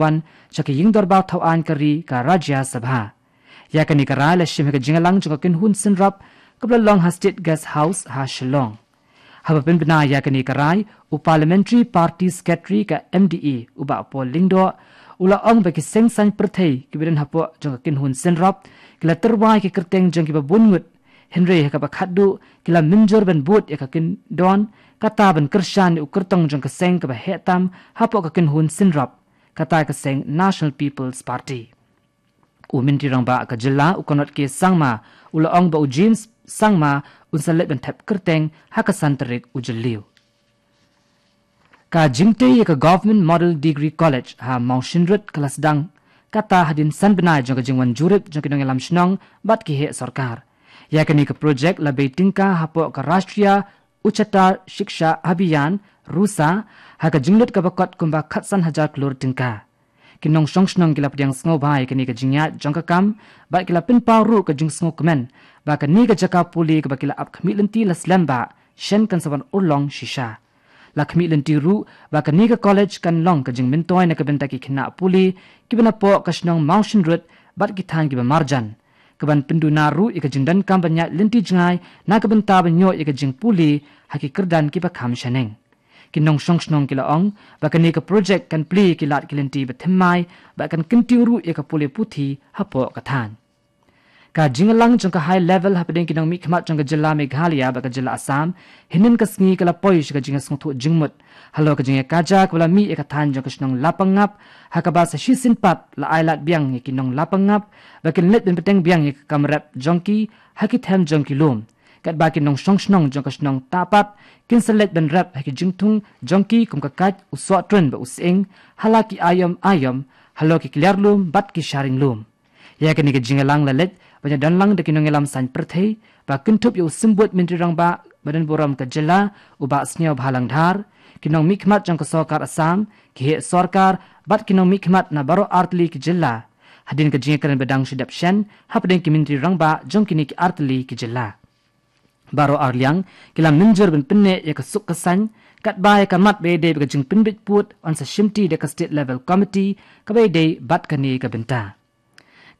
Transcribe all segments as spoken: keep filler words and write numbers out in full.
wan sha ka ïing dorbar thaw aiñ ka ri ka Rajya Sabha. Ïa kane ka rai la shim ha ka jingïalang jong ka kynhun synrop kaba la long ha State Guest House ha Shillong. Haba pynbna ïa kane ka rai, u Parliamentary Party Secretary ka M D A, u Bah Paul Lyngdoh, u la ong ba ki seng saiñ pyrthei kiba don hapoh jong ka kynhun synrop ki la tyrwa ïa ki kyrteng jong kiba bun ngut, hynrei ha kaba khatduh ki la mynjur ban bud ïa ka kyndon, kata ban kyrshan ïa u kyrtong jong ka seng kaba heh tam hapoh ka kynhun synrop, kata ka seng National People's Party. U Myntri Rangbah ka jylla, u Conrad K Sangma, u la ong ba u James Sangma un sa leit ban thep kyrteng ha ka san tarik u Jylliew. Ka jingtei ïa ka Government Model Degree College ha Mawshynrut ka la sdang, kata hadien san bnai jong ka jingwan jurip jong ki nongïalam shnong bad ki heh sorkar. Ïa kane ka projek la bei tyngka hapoh ka Rashtriya Ucchatar Shiksha Abhiyan, RUSA, ha ka jinglut kaba kot kumba khatsan hajar klur tyngka. Ki nongshong shnong ki la pdiang sngewbha ïa kane ka jingïaid jong ka kam, bad ki la pynpaw ruh ka jingsngewkmen ba kane ka jaka pule kaba ki la ap khmih lynti la slem ba shen kan sa wan urlong shisha. La khmih lynti ruh ba kane ka college kan long ka jingmyntoi na ka bynta ki khynnah pule kiba napoh ka shnong Mawshynrut bad ki thaiñ kiba marjan, kaban pynduna ruh ïa ka jingdonkam ban ïaid lynti jngai na ka bynta ban ïoh ïa ka jingpule ha ki kyrdan kiba kham shaneng. Ki nongshong shnong ki la ong ba kane ka projek kan plie ïa ki lad ki lynti ba thymmai bad kan kyntiew ruh ïa ka pule puthi hapoh ka thaiñ. Ka jingïalang jong ka high level hapdeng ki nongmihkhmat jong ka jylla Meghalaya bad ka jylla Assam hynnin ka sngi ka la poi sha ka jingïasngewthuh jingmut halor ka jingïakajia kaba la mih ïa ka thaiñ jong ka shnong Lapangap, ha kaba sa shisien pat la ailad biang ïa ki nong Lapangap ba kin leit ban bteng biang ïa ka kam rep jong ki ha ki them jong ki lum. Katba ki nongshong shnong jong ka shnong Tapat kin sa leit ban rep ha ki jingthung jong ki kum ka kait, u sohtrun bad u sying, ha la ki aïom aïom halor ki kliar lum bad ki sharing lum. Ïa kane ka jingïalang la leit ban ïadonlang da ki nongïalam saiñ pyrthei, ba kynthup ïa u Symbud Myntri Rangbah ba donburom ka jylla, u Bah Sniawbhalang Dhar, ki nongmihkhmat jong ka sorkar Assam, ki heh sorkar bad ki nongmihkhmat na baroh artylli ki jylla, hadien ka jingïakren ba dang shu dep shen hapdeng ki Myntri Rangbah jong kine ki artylli ki jylla. Baroh arliang ki la mynjur ban pynneh ïa ka suk ka saiñ, katba ïa ka mat ba ïadei bad ka jingpynbit pud yn sa shimti da ka State Level Committee kaba ïadei bad kane ka bynta.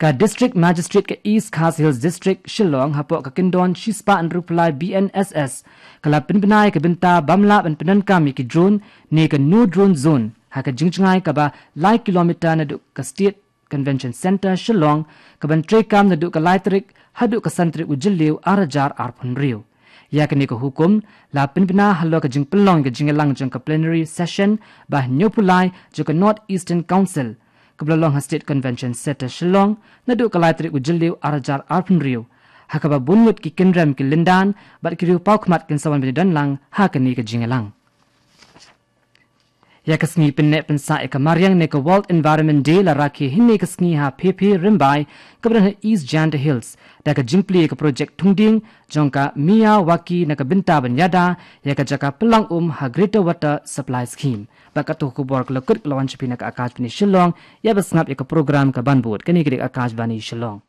Ka District Magistrate ka East Khasi Hills District, Shillong, hapoh ka kyndon shispah hynriewphew lai B N S S, ka la pynbna ïa ka bynta bym lah ban pyndonkam ïa ki drone ne ka No Drone Zone ha ka jingjngai kaba lai kilometer naduh ka State Convention Centre, Shillong, kaban treikam naduh ka lai tarik haduh ka san tarik u Jylliew ar hajar arphew hynriew. Ïa kane ka hukum la pynbna halor ka jingpynlong ka jingïalang jong ka plenary session ba hynñiewphew lai jong ka North Eastern Council, kaba la long ha State Convention Centre, Shillong, naduh ka lai tarik u Jylliew ar hajar arphew hynriew, ha kaba bun ngut ki kynrem ki lyndan bad ki riewpawkhmat kin sa wan ban ïadonlang ha kane ka jingïalang. Ïa ka sngi pynneh pynsah ïa ka mariang ne ka World Environment Day la rakhe hynne ka sngi ha Phephei Rymbai, kaba don ha East Jaintia Hills, da ka jingplie ïa ka projek thung dieng jong ka Miyawaki na ka bynta ban ïada ïa ka jaka pynlang um ha Greater Water Supply Scheme. Bad kato ka khubor ka la kut ka la wan sha phi na ka Akashvani Shillong. Ïa ba sngap ïa ka program kaban bud, kane ka dei ka Akashvani Shillong.